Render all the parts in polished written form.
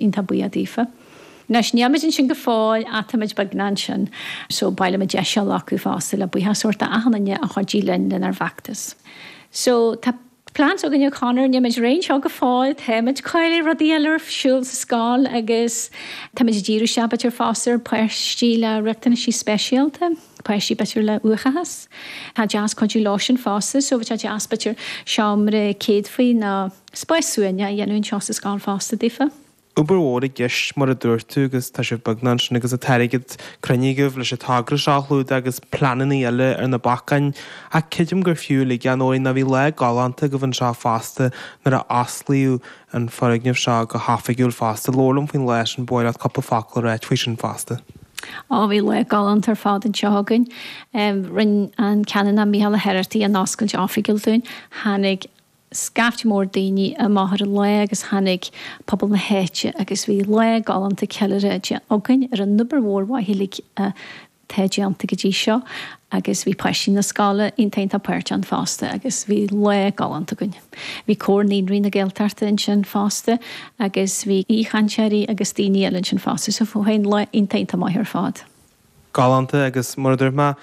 Iontach buíoch daofa. Anois, níl muid ansin go fóill ach táimid beagnach ansin so ba mhaith liom an deis seo a ghlacadh fosta le buíochas a thabhairt d'achan duine a chuidigh linn lenár bhfeachtas. So, tá plans againn a Conor, níl muid réidh anseo go fóill, táimid ag coinneáil rudaí eile ar siúl sa scoil agus táimid ag díriú isteach b'fhéidir fosta ar páistí le riachtanaisí speisialta, páistí b'fhéidir le uathachas. Tá deas cuidiú leo sin fosta so bheadh sé deas b'fhéidir seomra céadfaí nó spás suaimhneach a dhéanamh anseo sa scoil fosta daofa. Obair mhór i gceist mar a dúirt tú agus tá sibh beagnach ansin agus an t-airgead cruinnithe agaibh leis an togra seo a chlúdach agus pleananna eile ar na bacáin ach creidim gur fiú uilig a Nóirín ná bhí lá galánta agaibh anseo fosta nuair a osclaíodh an foirgneamh seo go hoifigiúil fosta. Labhair liom faoin lá sin, ba mhaith leat cúpla focal a ráit faoi sin fosta. Á, bhí lá galánta ar fad anseo againn. Rinne an Canonach Mícheál Ó hOireachtaigh an oscailt oifigiúil dúinn. Tháinig scaifte mór daoine amach ar an lá agus tháinig pobal na háite agus bhí lá galánta ceiliúrtha againn ar an obair mhór mhaith uilig atá déanta go dtí seo agus bhí páistí na scoile iontach iontach páirteach ann fosta agus bhí lá galánta againn. Bhí Comhar Naíonraí na Gaeltachta ansin fosta agus bhí aoichainteoirí agus daoine eile ansin fosta so bhí lá iontach iontach maith ar fad. Galánta agus mar a dúirt mé,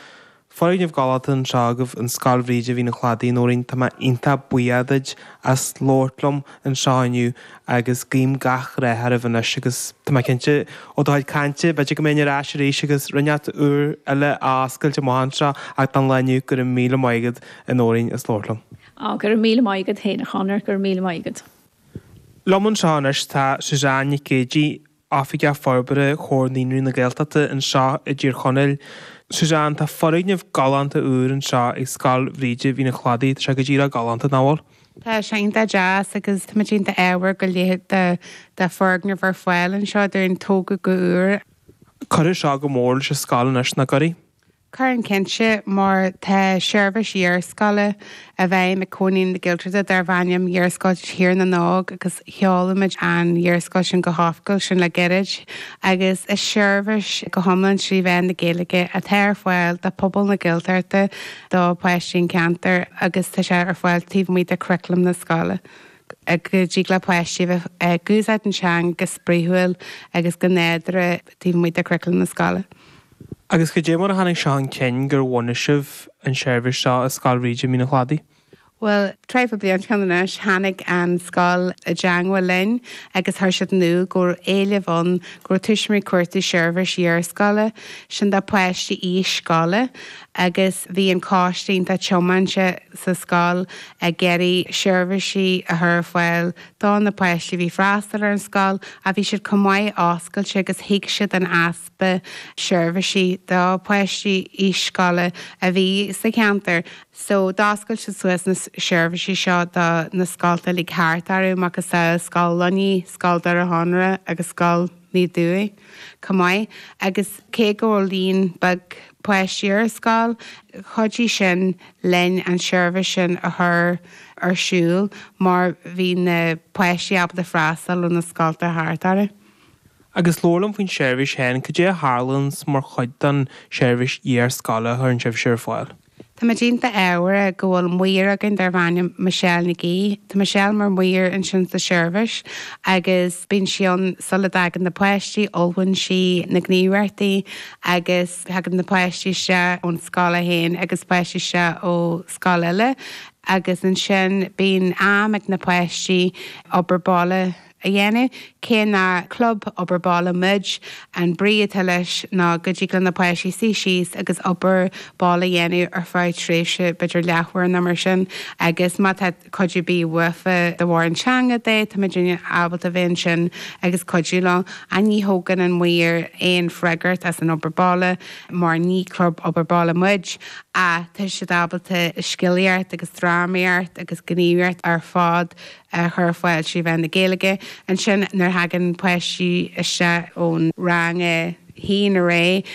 foirgneamh galánta anseo agaibh in Scoil Bhríde Mhín an Chladaigh, Nóirín, tá mé iontach buíoch duit as labhairt liom anseo inniu agus guím gach rath oraibh anois agus tá mé cinnte ó do chuid cainte, b'fhéidir go mbeinn ar ais arís agus rud inteacht úr eile á oscailt amach anseo ach don lá inniu go raibh míle maith agat a Nóirín as labhairt liom. Á, go raibh míle maith agat féin a Chonor, go raibh míle maith agat. Liom anseo anois tá Suzanne Nic Géidigh, Oifigeach Forbartha Chomhar Naíonraí na Gaeltachta anseo i dTír Chonaill. Suzanne, tá foirgneamh galánta úr anseo ag Scoil Bhríde Mhín an Chladaigh. Tá sé go díreach galánta, nach bhfuil? Tá sé iontach deas agus táimid iontach ádhmhar go leithéid de foirgneamh ar fáil anseo dúinn, tógtha go úr. Cuirfidh seo go mór leis an scoil anois, nach gcuirfidh? Cuireann cinnte, mar tá seirbhís iarscoile i bhfeidhm ag Comhar Naíonraí na Gaeltachta darb ainm Iarscoil Thír na nÓg agus sheol muid an iarscoil sin go hoifigiúil sin le gairid agus is seirbhís go hiomlán trí mheán na Gaeilge atá ar fáil do phobal na Gaeltachta, do pháistí an cheantair agus tá sé ar fáil taobh amuigh de churaclam na scoile go dtig le páistí a bheith ag úsáid an teanga go spraíúil agus go nádúrtha taobh amuigh de churaclam na scoile. Agus cad é mar a tháinig seo chun cinn gur bhunaigh sibh an seirbhís seo i Scoil Bhríde Mín an Chladaigh? Bhuel, traidhfil bliain ó shin anois, tháinig an scoil i dteangmháil linn agus chuir siad in iúl go raibh éileamh ann, go raibh tuismitheoirí ag cuartú seirbhís iarscoile, sin do pháistí aois scoile, agus bhí an coiste iontach tiomanta sa scoil ag iarraidh seirbhísí a chur ar fáil do na páistí a bhí ag freastal ar an scoil ach bhí siad chomh maith oscailte agus thuig siad an easpa easpa seirbhísí do pháistí aois scoile a bhí sa cheantar. So d'oscail siad suas na seirbhísí seo do na scolta uilig thart orthu, macasamhail Scoil Luinnigh, Scoil Doire Chonaire agus Scoil Naomh Dubhthaigh chomh maith. Agus cé go raibh líon beag páistí ar an scoil, chuidigh sin linn an seirbhís sin a chur ar siúl mar bhí na páistí ábalta freastal ó na scolta thart orthu. Agus labhair liom faoin seirbhís féin, cad é a tharlaíonns mar chuid den seirbhís iar-scoile a chuireann sibhse ar fáil? Táimid iontach ádhmhar go bhfuil maor againn darb ainm Michelle Nic Aoidh. Tá Michelle mar mhaor ansin sa seirbhís agus bíonn sí ann sula dtagann na páistí, ullmhaíonn sí na gníomhaíochtaí agus tagann na páistí isteach ón scoil féin agus páistí isteach ó scoil eile agus ansin bíonn am ag na páistí obair baile a dhéanamh. Cé nach club obair baile muid, an brí atá leis ná go dtig le na páistí suí síos agus obair baile a dhéanamh ar feadh tréimhse b'fhéidir leathuair nó mar sin agus má tá cuidiú ar bith uafa de bharr an teanga de, tá muidne ábalta bheith ansin agus cuidiú leo. Ach ní thógann an maor aon freagracht as an obair baile mar ní club obair baile muid ach tá siad ábalta scéalaíocht agus drámaíocht agus gníomhaíocht ar fad a chur ar fáil trí mheán na Gaeilge. Ansin nuair a thagann páistí isteach ón rang a haon ar aghaidh,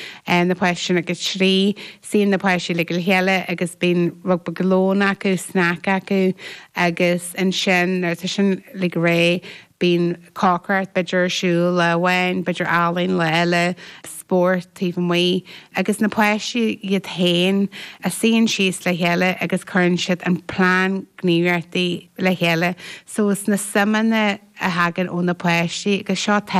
na páistí sin ag a trí, suíonn na páistí uilig le chéile agus bíonn rud beag lóin acu, snack acu agus ansin nuair atá sin uilig réidh, Bíonn cócaireacht b'fhéidir ar siúl lá amháin, b'fhéidir ealaín lá eile, spórt taobh amuigh agus na páistí iad féin a suíonn síos le chéile agus cuireann siad an plean gníomhaíochtaí le chéile. So is na suimeanna a thagann ó na páistí agus seo.